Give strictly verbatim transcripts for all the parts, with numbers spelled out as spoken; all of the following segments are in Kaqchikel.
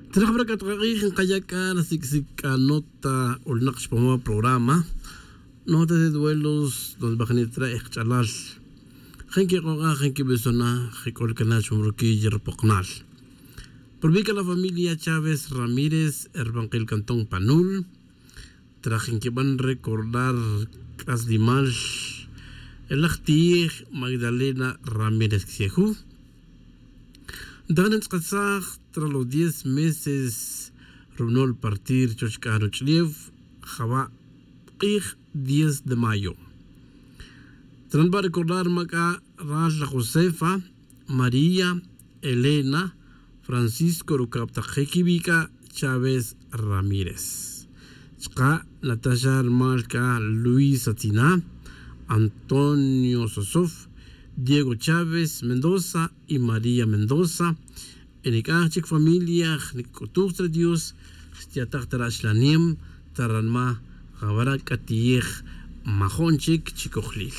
Trajbrakatqaq'ij nqayaka sik'sik nota ulnaq chpam programa Nota de duelos donde b'ajnitra ejch'alal jen kiq'oq'aj jen kib'isona jek'ulkana chpam rukiy ripoqnaal. Por la familia Chávez Ramírez Erbanqil Cantón Panul trajen kib'an recordar k'aslimal el ajtij Magdalena Ramírez Xiejú. Ntajan tz'aqatzaj tras los diez meses rub'nol partir choch k'aj ruch'liew jawa' q'ij diez de mayo. Tran va recordar mak'a ral la Josefa, María, Elena, Francisco Rukab Taqjekibika Chávez Ramírez. Chqa Natasha Malka Luisa Tina, Antonio Sosov, Diego Chávez Mendoza y María Mendoza. En chik familia nik'utuj Dios stiataq taraxlanem taranma jabara k'atiyej majon chik chikojlil.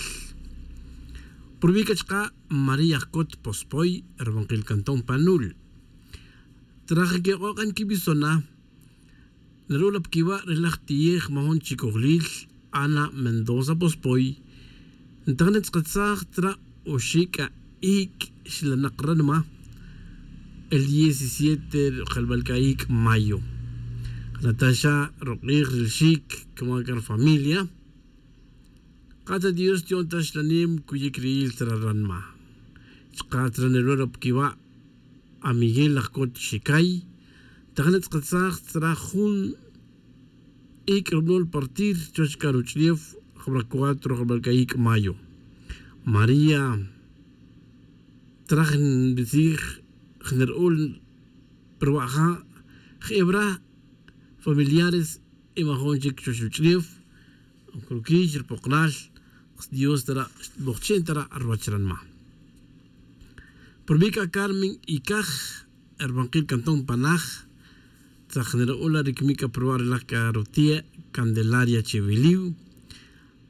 Purbika chqa María Kot Pospoy Erbanqil Cantón Panul. Traje que oqan kibisona Nerula pkiwa relaj tiyej mahon chikojlil Ana Mendoza Pospoy. Ntanet tzqatzaj tra oxika ik xlanaqranma el diecisiete jalbalkaik mayo. Natasha Roqir Shik como familia. Qata Dios tion tashlanim kuyikril traranma. Chqatra nerura pkiwa a Miguel Ajkot Shikay. Tajanet tzqatzaj tra jun ik rubnol partir chochka ruchliev jabra cuatro jalbalkaik mayo. María trajen bizig generul perwaja jebra familiares y majonchik chochuchliev krukich poqnal Dios tara bochen tara arwachranma. Por Mica Carmen y Kaj Erbanquil Cantón Panaj tzajenerula rikmika probar la carotía Candelaria Cheviliu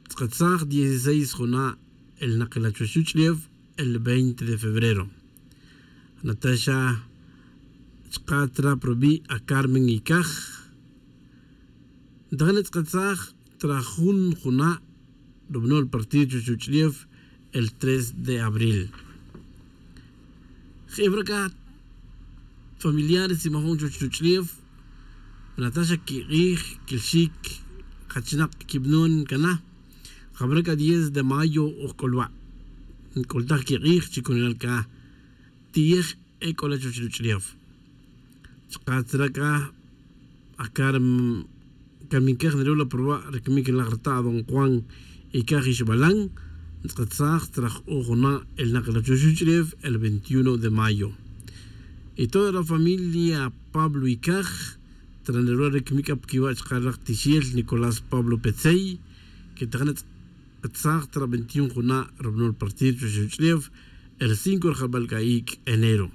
tzqatzaj dieciséis juna el naqila chochuchliev el veinte de febrero. Natasha Chqatra probi a Carmen y Kaj. Ntajanet tzqatzaj trajun juna dominó el partido Chuchuchliev el tres de abril. Jebraka familiares y majón Chuchuchliev Natasha Kirij Kilshik Hachinak Kibnun Kana Jabraka diez de mayo Ojkolwa Koltaj Kirij Chikunalka Tiyej Ekola Chuchuchliev Chqatraka Akarm Kaminkej Nerula Proba Rekmik la Grta Don Juan Ikajish Balán Tzqatzaj traj Ojona el Naqla Chuchuchliev el veintiuno de mayo. Y toda la familia Pablo Ikaj Tranerua Rekmika Pkiwa Chqaraq Tishiel Nicolás Pablo Petzey que Tajanet Tzaj tra veintiuno juna Robnol Partir Chuchuchliev el cinco de Jabalcaik enero.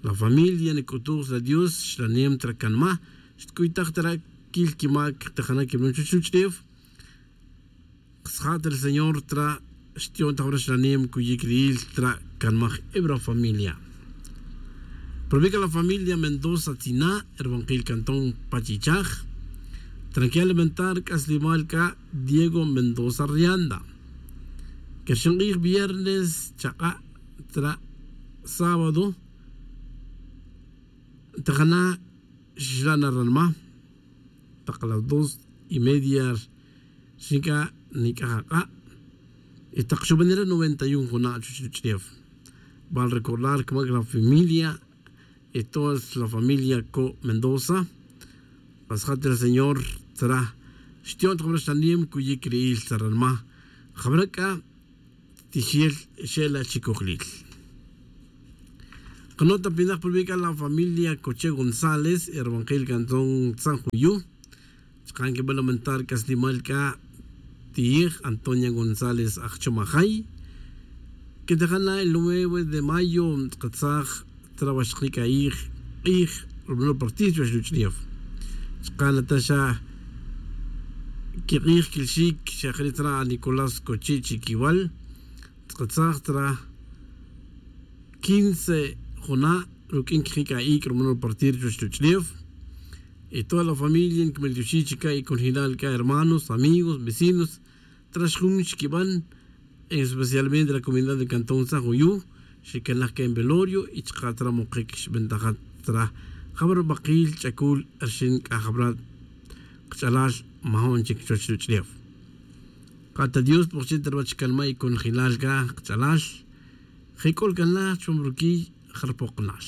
La familia Nikutus la Dios Shlanem Trakanma Xtkuitaj tra Kilkimak Tajana Kibnun Chuchuchliev Sjat el Señor tra Shtion Tabra Shlanem Kuyikril tra Kanmaj Ebra familia. Probica la familia Mendoza Tina, Erbanquil Cantón Pachichaj, Tranquila Elementar Caslimalca Diego Mendoza Rianda. Que viernes Chaca tra sábado Tajana Shlana Ranma Taca las dos y media Shika Nikajaca y Taxubanera noventa y uno Juna Chuchuchliev. Van a recordar como la familia y toda la familia Co Mendoza Pasjate el Señor tra Shtion Tjabrastanim Kuyikriil Taranma Jabraka Tijiel Shela Chikojlil. Conota Pinaj publica la familia Coche González, Erbanquil Cantón San Juyu, Chqan que lamentar Caslimalca Tij Antonia González Achomajay, que dejana el nueve de mayo Tqatzaj Trabashqika Ij Ij Rubno Partido Chuchliev. Chqan Natasha Kirij Kilshik Shakritra Nicolás Coche Chiquiwal, Tqatzaj tra quince Juna Ruk'in kijik'a'ik rumanol partir chuch y toda la familia nk'meltioxij chika y konjinal ka hermanos, amigos, vecinos traxjun xkib'an especialmente la comunidad de Cantón San Juyu xikanaj ka en velorio y chqatra muqik xb'antajat tra jab'ar b'aqil ch'akul rxin k'ajab'rat qch'alal majon chik chuwach ruwach'uleew qata Dios pojchi tarwach kalma y konjinal ka qch'alal jek'ul kanaj chupam rukiy jarpoqnal.